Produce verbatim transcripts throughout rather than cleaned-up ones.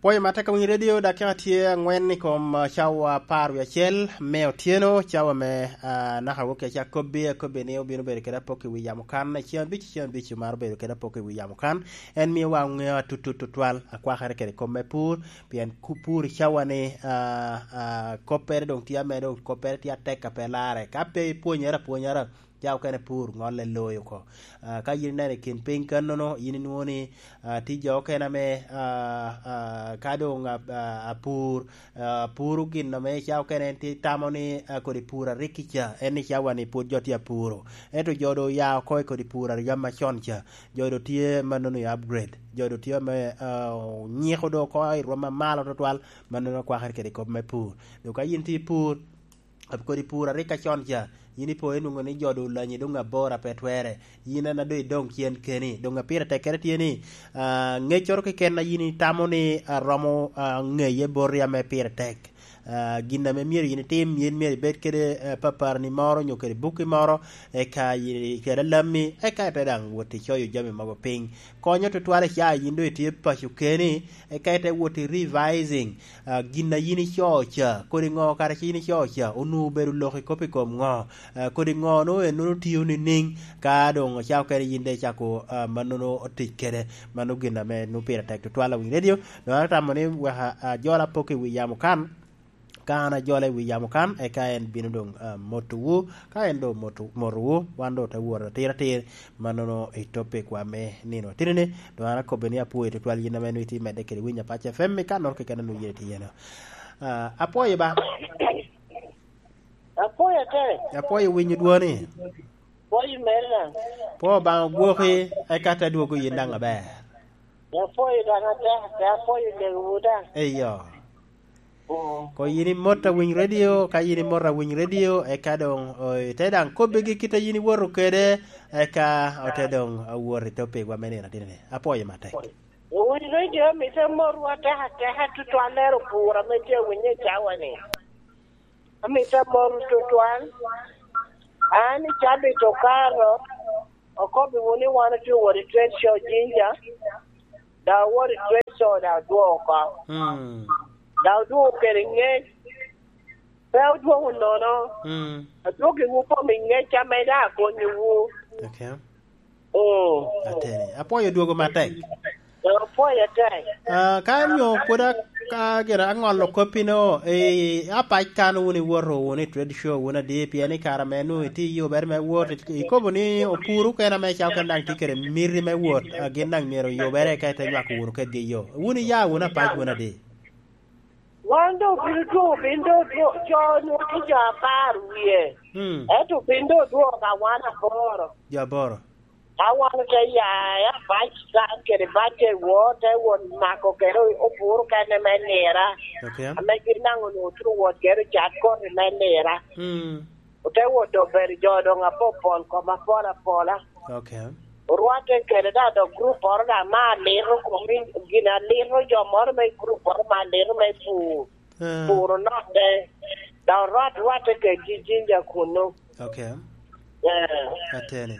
Pwoyo ma atye ka winyo redio, dakika tye angwen i kom, ah, cawa apar wie acel me otyeno, cawa me, ah, naka wok i acakobbi, akobbi ni obino bedo kede apok i wi yamo kan, ceng abic, ceng abic omaro bedo kede apok i wi yamo kan. En miyowa ŋeo atutut tutwal, akwakere kede kop me pur, pien ku-, pur i cawa ni, ah, ah, koppere doŋ tye ame doŋ koppere tye atek a pe larre. Ka pe ipwonyere apwonyara, ca okene pur ŋolle loyo oko. Ah, ka yin ineno i kin piny kannono, yin inwoŋo ni, ah, tye jo okene ame, ah, ah, ka doŋ a-, a-, apur, ah, apuro gin ame ca okene en tye tamo ni, ah, kodi pur a rik kica, en ni cawa ni pwod jo tye apuro. Ento jo doŋ oya oko i kodi pur a yam macon ca. Jo doŋ tye mannono i upgrade. Jo doŋ tye ame, ah, onyiko doŋ oko i rwom mamalo tutwal, mannono akwakere kede kop me pur. Doŋ ka yin tye i pur, kodi pur a rik acon ca, yin ipo inwoŋo ni jo doŋ olanyi doŋ aboro a pe twere. Yin en a doŋ idoŋ cen keni. Doŋ a pire tekkere tye ni, ah, ŋeccoro keken a yin itamo ni, ah, romo, ah, ŋeye boti ame pire tek. Ah, gin ame myero yin itim, yin myero ibed kede, eh, paparani moro nyo kede bukki moro, eka i-, kede alammi, eka ite daŋ wot icoyo jami mogo piny. Konyo tutwal i ca yin doŋ itye paco keni, eka ite wot i revising, ah, gin a yin ico ca, kodi ŋo kara ci yin ico ca, onwoŋo obedo lok i kop i kom ŋo, ah, kodi ŋo nwoŋo en nwoŋo tio nining, ka doŋ ocako kede yin de icako, ah, mannono tic kede, mano gin ame nwoŋo pire tek tutwal awiny redio, doŋ an atamo ni wek a-, ajol apok i wi yamo kan, ka an ajole i wi yamo kan, eka en bino doŋ, ah, motowu, ka en doŋ moto-, motowu, wan doŋ te wot atir atir, mannono i topic wa me nino atinini, doŋ an akobbe ni apwoyo tutwal yin ame nwoŋo itye medde kede winyo Apac F M i kannoro keken a nwoŋo yin itye iye-no. Ah, apwoyo ba. Apwoyo ate. Apwoyo winyo dwoni. Apwoyo meri daŋ. Pwo Obaŋa ogwoki, eka te dwogo yin daŋ aber. Apwoyo daŋ ate, ate apwoyo lewu daŋ. Eyo. Mm. Ko yin imot awiny redio, ka yin imot awiny redio, eka doŋ, o, ite daŋ kobbigi kit a yin iwoto kede, eka ote doŋ awot i topigwa me nino atinini. Apwoyo matek. Owiny redio, amito amotwu atek ateka tutwal lero pur ame tye awinyo i cawa-ni. Amito amotwu tutwal. An i cabit okato, okobbiwu ni wan otye wot i trade show Jinja, dok awot i trade show, dok adwogo oko. Mm. Dok adwogo kede ŋec. Pe adwogo nono. Mm. Adwogiwu kom i ŋec ame daŋ akonyiwu. Okay. Mm. Ateni. Apwoyo dwogo matek. Apwoyo atek. Ah, ka nyo pwod a-, ka gira aŋolo koppino, eh, apac kan wun iwoto wunu i trade show wun adi, pien i kare ame nwoŋo itye i yubere me wot, i-, ikobo ni opuru kene ame ca okene daŋ tye kede miti me wot, ah, gin daŋ myero oyubere eka ite nywako wunu kedgi i yo. Wun iya wunu apac wun adi? Wan doŋ obino dwogo, obino doŋ dwo-, jo nwoŋo tye jo apar wie. Mm. Ento obino doŋ dwogo ka wan aboro. Jo aboro. Ka wan ote ya i apac kan kede batte wot, te wot mako kede opuru kene me nira. Okay. Ame gin daŋ onwoŋo tye wot kede ocat koti me nira. Mm. Ote wot obedo jo doŋ apopol kom apol apola. Okay. Orwatte kede daŋ dok grupporo daŋ me alito kom i-, gin alito jo moro me grupporo me alito me pur. Eh. Puro notte. Daŋ orwat, rwatte kedgi Jinja kunnu. Okay. Eh. Ateni.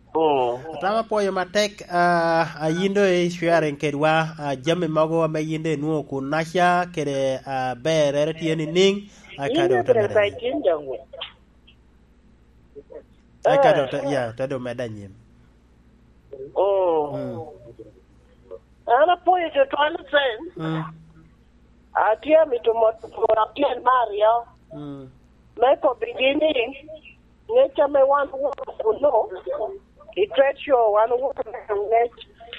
Mm. Atamo apwoyo matek, ah, a yin do i sharing kedwa, ah, jami mogo ame yin do inwoŋo kunnaca kede, ah, berrere tye nining, ah, ka do ote medde. Yin do Jinja ŋu? Eka do te, ya, te do medde anyim. Mm. Mm. An apwoyo tutwal Hussein. Mm. Atye amito moto pwora pien me aryo. Mm. Me kobbigi ni, ŋec ame wan owoto kuno, i trade show wan owoto neno ŋec,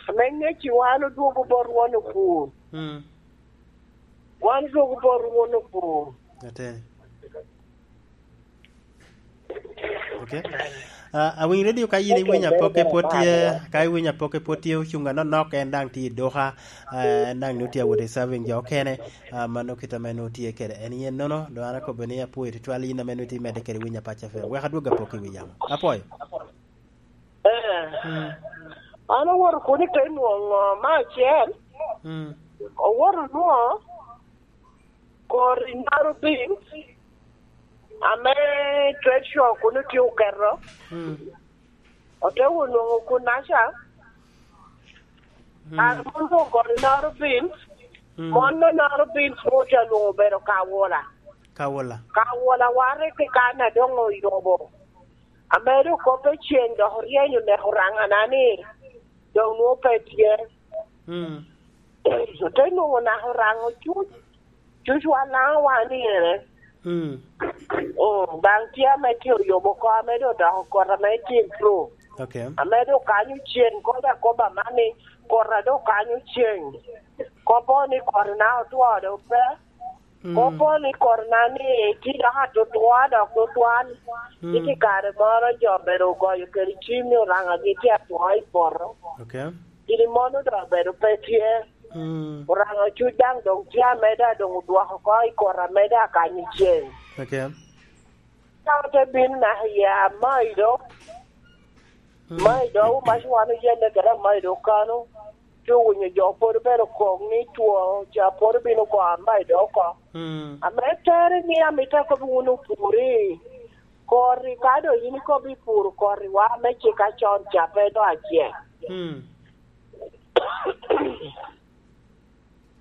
ame ŋec-ci wan odwogo bot won opur. Mm. Wan odwogo bot won opur. Ateni. Okay. Ah, awiny redio ka yin iwinyo apokke pwod tye, ka iwinyo apokke pwod tye ocuŋ anonok, en daŋ tye i duka, ah, en daŋ nwoŋo tye awot i serving jo okene, ah, mano kit ame nwoŋo tye kede en yen nono, doŋ an akobbe ni apwoyo tutwal yin ame nwoŋo itye medde kede winyo Apac F M. Wek adwog apok i wi yamo. Apwoyo. Eh. Mm. An awoto kuno te nwoŋo me acel. Mm. Awoto nwoŋo kor i Naro Beans, ame trade show kuno tye oketo. Mm. Ote onwoŋo kunaca. Mm. An onwoŋo kor i Naro Beans, Mm. Mon nonoro bin pwod alwoŋo obedo Kawola. Kawola. Kawola warre kekana doŋ oyubo. Amedo kop ecen dok oryeny oneko Oraŋana ni doŋ nwoŋo pe tye. Mm. Ote nwoŋo naka Oraŋo cuc, cuc wa Laŋo wa ni ene. Mm. Mm, daŋ tye ame tye oyubo oko, ame doŋ odoko kot ame tye improve. Okay. Ame doŋ kanyo cen, kop akoba man ni, kot a doŋ kanyo cen. Kopo ni kot na otwo doŋ pe. Mm. Kopo ni kot na ni tye dok atutwa dok tutwal. Mm. Iti kare moro jo obedo ogoyo kede cim ni Oraŋagi tye atwo i poto. Okay. Gin mono doŋ obedo pe tye. Mm. Oraŋo cuc daŋ doŋ tye ameda, doŋ odwoko oko i kot ameda akanyo cen. Okay. Ka ote bino naka i Amaido, Mm. Amaido, mac wan oyelle kede Amaido kano, ci owinyo jo pwod obedo kok ni two ca pwod obino go Amaido oko. Mm. Ame tere ni amito akobo wunu opuri, kori ka doŋ in ikobo ipuro koriwa me cik acon ca pe doŋ acek. Mm.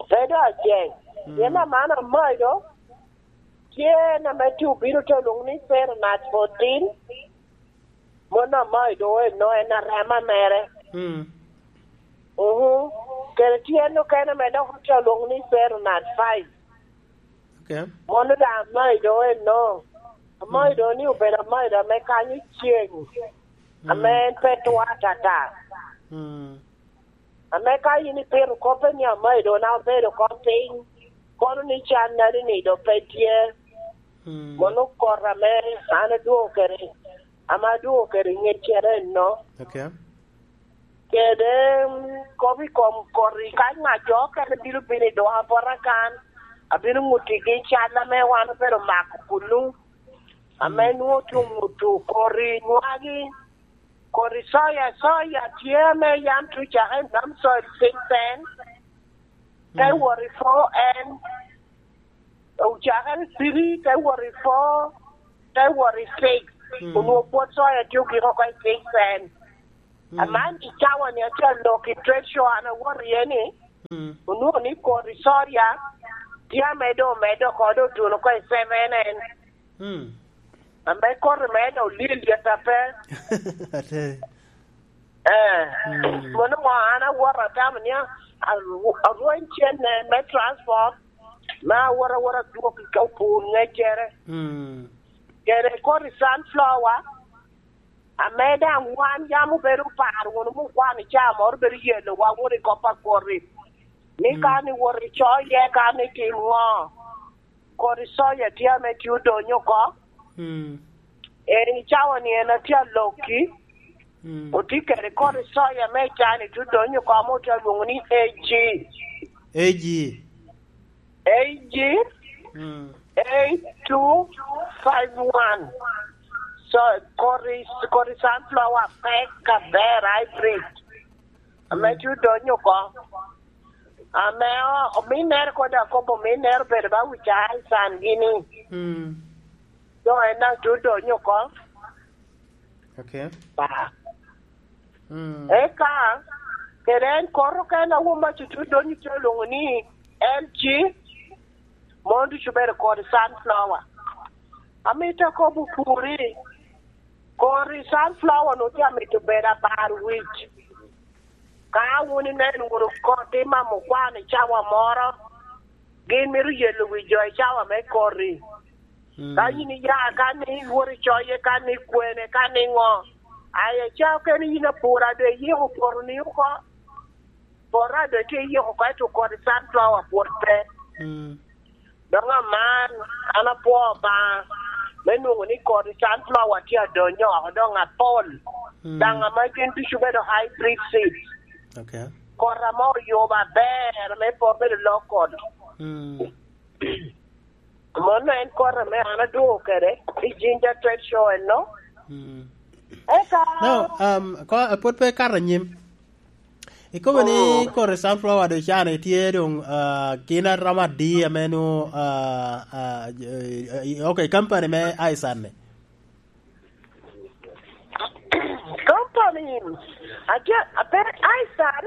Pe doŋ acek. Mm. Pien aman Amaido tye en ame tye obino te olwoŋo ni Fernat fourteen. Mon Amaido eno en arema mere. Mm. Mhm. Kede tye en okene ame dok otye olwoŋo ni Fernat five. Okay. Mono daŋ Amaido eno. Amaido ni obedo Amaido ame kanyo ceng. Mm. Ame en pe twa atata. Mm. Ame ka in ipito koppe ni Amaido na obedo oko piny, kono ni can nadi ni doŋ pe tye. Mm. Mono kot ame an adwogo kede, ame adwogo kede ŋeccere eno. Okay. Kede, mm, kop i kom koti, ka ŋa jo okene bino bino i doŋa bota kan, abino ŋuttigi cal ame wan obedo mako kunu, ame Mm. nwoŋo tye oŋutto koti nywagi, koti soya, soya tye ame yam tye ocake i Nam Soil Six N, te Mm. wot i four N, ocakere i three, te wot i four, te wot i six. Mm. Onwoŋo pwod soya tye ogik oko i six N. Mm. Aman i cawa-ni atye alok i trade show an awoto iye ni, Mm. onwoŋo ni koti soya tye ame doŋ omedde oko, doŋ otuno oko i seven N. Mm. Ame koti me doŋ olyel lyet ape. Ate. Eh, Mm. mono ŋo an awoto atamo ni a-, arw-, arweny cene me transport, me awot awot adwog i ka opur ŋeccere. Mm. Kede koti sunflower, ame daŋ wan yam obedo oparo wunu mu kwano ca moro bedo yelo wa wunu i kop a koti. Ni Mm. ka ni wot i coye, ka ni tim ŋo. Koti soya tye ame tye odonyo oko. Mm. En i cawa-ni en atye alokki. Mm. Otye kede koti soya me cani tye odonyo oko ame otye alwoŋo ni A G. A G. A G Mm. eight two five one. So, koti, koti sunflower pek aber hybrid. Ame Mm. tye odonyo oko. Ame o-, ominnere kodi akobo ominnere obedo ba wica i can gini. Mm. Doŋ en daŋ tye odonyo oko. Okay. Ba. Mm. Eka, kede en koti okene a won mac tye odonyo tye olwoŋo ni L G, mon ducu obedo kodi sunflower. Amito akobo puri, kodi sunflower-nu tye amito bedo abar wic. Ka wun ineno wunu koti mamo kwan i cawa moro, gin mito yelo wi jo i cawa me koti. Mm. Ka in iya, ka ni iwot i coye, ka ni ikwene, ka ni ŋo, aye ca okene in apur ado iyiko poto-ni oko. Poto ado tye iyiko oko, ento koti sunflower pwod pe. Mm. Doŋ aman, an apwoo Obaŋa me nwoŋo ni kodi sunflower tye adonyo oko doŋ apol. Mm. Daŋ ame gin ducu bedo hybrid seeds. Okay. Kot ame oyubo aber, ame pe obedo local. Mm. Mano en kot ame an adwogo kede i Jinja Trade Show eno. Mm. Eka No, um, ko-, pwod pe kato anyim. Ikobo ni Oh. kore sunflower do can itye doŋ, ah, kin aromo adi ame nu, ah, ah, eh, eh, okay, company me Aisan ni? Company, aja, ape Aisan?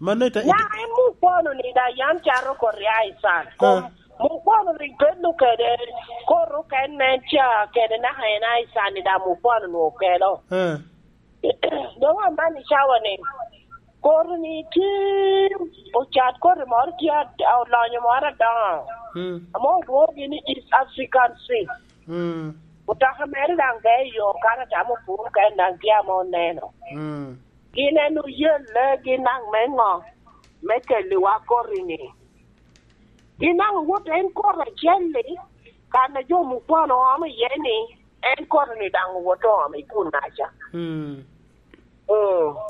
Mano ita-, ita- Ya, emu. Mukwono-ni daŋ yam cato koti a i can. Kom mukwono rik bedo kede koti okene ca kede naka en a i can-ni daŋ mukwono nwoŋo kelo. Doŋ aman i cawa-ni, koti-ni tye ocat koti moro tye ad-, olonyo moro adoŋo. Ame olwoŋogi ni East African Sea. Mutoka mere daŋ geye i yo kan atamo puro ka en daŋ tye ame oneno. Gin en oyelle gin daŋ me ŋo? Me kelliwa koti-ni. Gin daŋ owot en koti acel-li, kan a jo mukwono oomo iye-ni, en koti-ni daŋ owot oomo i kun-naca. Mm.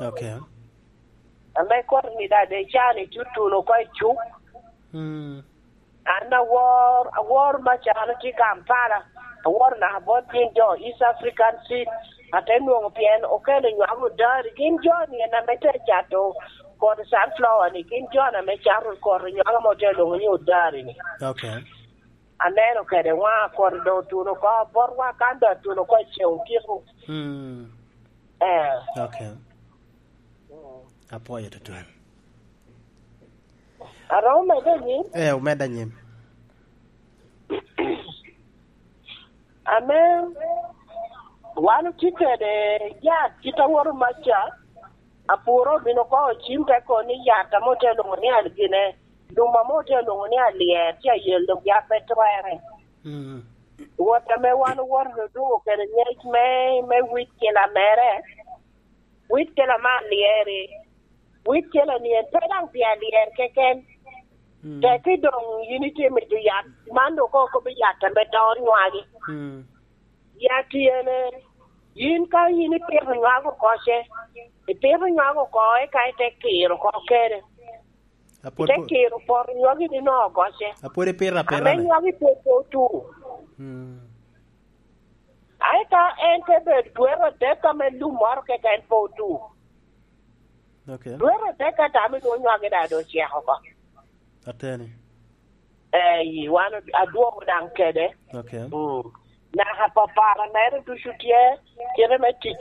Okay. Ame koti-ni daŋ de can i tutuno oko i cuk. Mm. An awor, awor macalo tye Kampala, awor naka bot gin jo East African Seed, ate nwoŋo pien okelo nywako odari. Gin jo-ni en ame te cato kodi sunflower-ni, gin jo-ni ame cato kodi nywako ame ote lwoŋo ni odari-ni. Okay. Aneno kede waŋa kodi doŋ otuno oko, botwa kan doŋ atuno oko i ceŋ otiko. Mm. Eh. Okay. Mm. Apwoyo tutwal. Aromo medde anyim? Eh, omedde anyim. Ame wan otye kede yat kit awoto maca, apuro obino oko ocim te kono ni yat ame ote lwoŋo ni al-, gine, lum ame ote lwoŋo ni alyer tye ayelo gi ape twere. Mm. Wot ame wan owoto odugo kede ngec me, me wit kila mere, wit kela me alyeri, wit kela-ni en pe daŋ pi alyer keken. Mm. Teki doŋ yin itye mito yat, man doŋ koŋ okobo yat ame doro nywagi. Mm. Yat ene, yin ka yin ipito nywagi oko ce, ipito nywagi oko, eka ite kiro oko kede. Apwod Ite po- kiro poto nywagi ni no oko ce. Apwod ipito apita Ame ni. Nywagi pwod pe otu. Mm. Ae ka en te bedo dwero adek ame lum moro keken pe otu. Okay. Dwero adek ka tamo nwoŋo nywagi daŋ doŋ ocek oko. Ateni. Eh, wan adwogo daŋ kede. Okay. Mm. Naka papara mere ducu tye, kite me tic